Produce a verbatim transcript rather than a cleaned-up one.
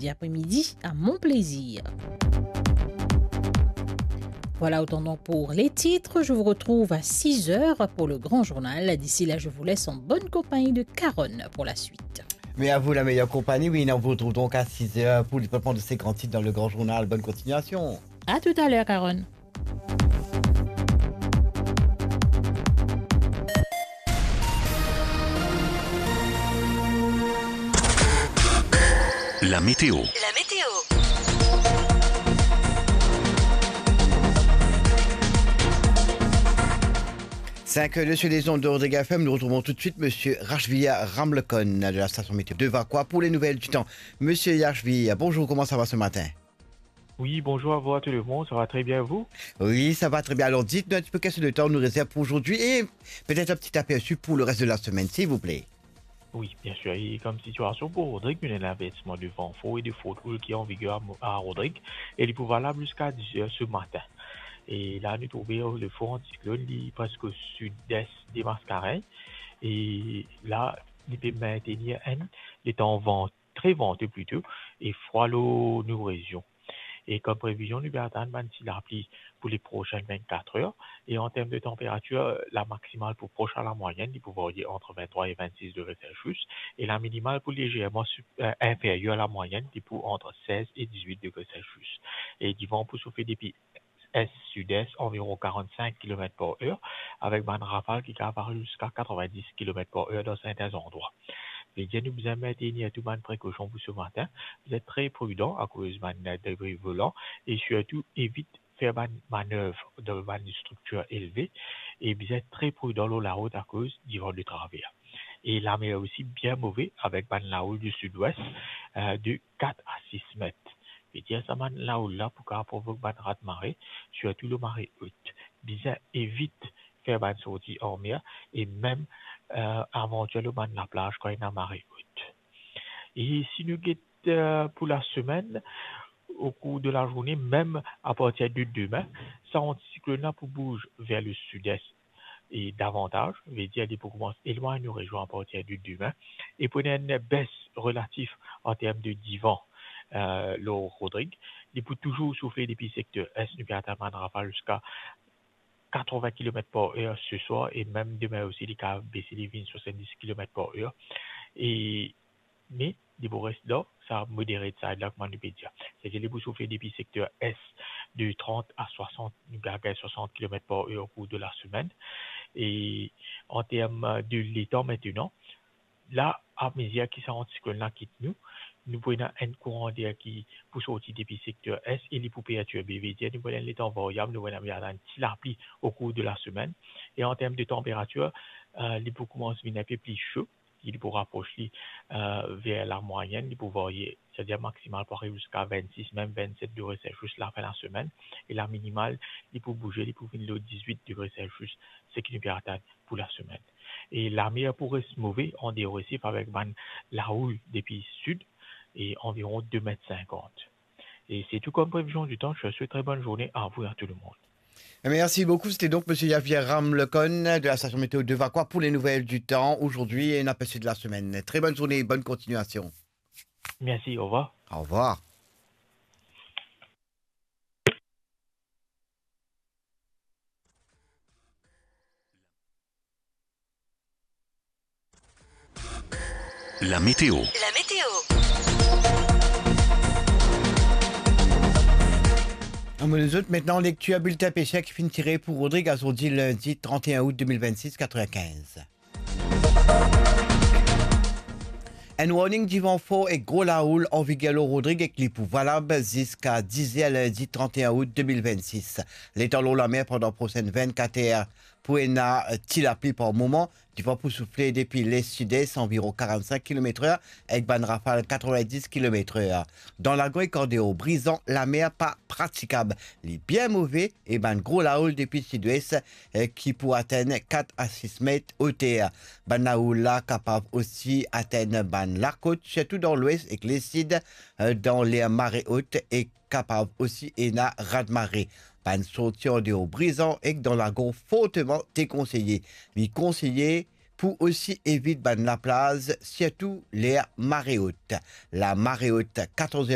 Après-midi à mon plaisir. Voilà, autant donc pour les titres. Je vous retrouve à six heures pour le grand journal. D'ici là, je vous laisse en bonne compagnie de Caronne pour la suite. Mais à vous la meilleure compagnie, oui, on vous retrouve donc à six heures pour le développement de ces grands titres dans le grand journal. Bonne continuation. À tout à l'heure, Caronne. La météo. Cinq heures sur les ondes de Rodrigue F M, nous retrouvons tout de suite Monsieur Rachvia Ramlekon de la station météo de Vacoas pour les nouvelles du temps. Monsieur Rachvia, bonjour, comment ça va ce matin ? Oui, bonjour à vous, à tout le monde. Ça va très bien, vous ? Oui, ça va très bien. Alors, dites-nous un petit peu quel est le temps nous réserve pour aujourd'hui et peut-être un petit aperçu pour le reste de la semaine, s'il vous plaît. Oui, bien sûr. Et comme situation pour Rodrigue, il y a un avertissement de vent fort et de forte houle qui est en vigueur à Mo-, à Rodrigue. Et il est valable jusqu'à dix heures ce matin. Et là, nous trouvons le front anticyclone, il est presque au sud-est des Mascareignes. Et là, il peut maintenir un, le temps vent très venteux plutôt, et froid lor nou rezion. E kom previzion, nou pe atann bann ti lapli pou les prochaines vingt-quatre heures. E an term de tanperatir, la maximal pou pros a la mwayenn, li pou varye ant venntrwa e vennsis degre Celsius, e la minimal pou lezerman sup-, euh, inferyer a la mwayenn, li pou ant sez e dizwit degre Celsius. E divan pou soufle depi est-sud-est, anviron quarante-cinq kilomètres par heure, avek bann rafal ki kapav ariv ziska quatre-vingt-dix kilomètres par heure dan sertin zandrwa. Vedir nou bizin maintenir tou bann prekosion pou se matin. Bizin tre pridan akoz bann debri volan e sirtou evit fer bann manev dan bann striktir elve e bizin tre pridan lor larout akoz divan de traver. E lamer osi bien move avek bann lahoul di sidwes, euh, de kat a sis met. Vedir sa bann lahoul la pou kapav provok bann raz mare, sirtou lor mare ot. Bizin evit fer bann sorti anmer e mem, euh, avantir lor bann laplaz kan ena mare ot. E si nou get, euh, pou lasemenn, o kour de lazourne, mem apartir de demin, sa antisiklonn la pou bouz ver le sidest e davantaz, vedir li pou koumans elwagn nou rezion apartir de demin, e pou ena enn bes relatif an term de divan, euh, lor Rodrig. Li pou touzour soufle depi sekter est, nou pe atann bann rafal ziska quatre-vingts kilomètres par heure ce soir, e mem demin osi, li kapav bese, li vinn swasanndis kilomètres par heure. E, me, li pou res dan sa moderate side la, kouma nou pe dir. Setadir li pou soufle depi sekter est de trant a swasant, nou gagn swasant kilomètres par heure o kour de lasemenn. E an term de letan mintenan, la, amezir ki sa antisiklonn la kit nou, nou pou ena enn kouran der ki pou sorti depi sekter est e li pou pertirbe, vedir nou pou ena enn letan varyab, nou pou ena, ena enn ti lapli o kour de lasemenn. E an term de tanperatir, euh, li pou koumans vinn inpe pli so, li pou rapros li, euh, ver lamwayenn, li pou varye, setadir maksimal pou ariv ziska vennsis, mem vennset degre Celsius lafin lasemenn, e laminimal, li pou bouze, li pou vinn lor dizwit degre Celsius, seki nou pe atann pou lasemenn. E lamer pou res move, andeor Resif, avek bann lahoul depi sid, e anviron de met sinkant. Et c'est tout comme prévision du temps. Je vous souhaite très bonne journée à vous et à tout le monde. Merci beaucoup. C'était donc Monsieur Javier Ramlecon de la station météo de Vacoas pour les nouvelles du temps aujourd'hui et un aperçu de la semaine. Très bonne journée et bonne continuation. Merci, au revoir. Au revoir. La météo. La météo. Ann met zot mintnan lektir biltin peser ki finn tire pou Rodrig azordi lindi trant-e-enn out de mil vennsis, katrevinkinz. Enn warning divan for ek gro lahoul an viger lor Rodrig ek li pou valab ziska diz er lindi trant-e-enn out de mil vennsis. Letan lor lamer pandan prosenn vennkat er pou ena, eh, ti lapli par moman, divan pou soufle depi les-sides anviron karant-sink kilometr er ek bann rafal katrevinndis kilometr er. Dan lagor ek andeor, brizan, lamer pa pratikab. Li bien move e bann gro lahoul depi sidwes, eh, ki pou atenn kat a sis met oter. Bann lahoul la kapav osi atenn bann lakot, sirtou dan lwes ek lesid, eh, dan ler mare ot e kapav osi ena raz mare. Bann sorti andeor brizan ek dan lagor forteman dekonseye. Li konseye pou osi evit bann laplaz, sirtou ler mare ot. Lamare ot katorz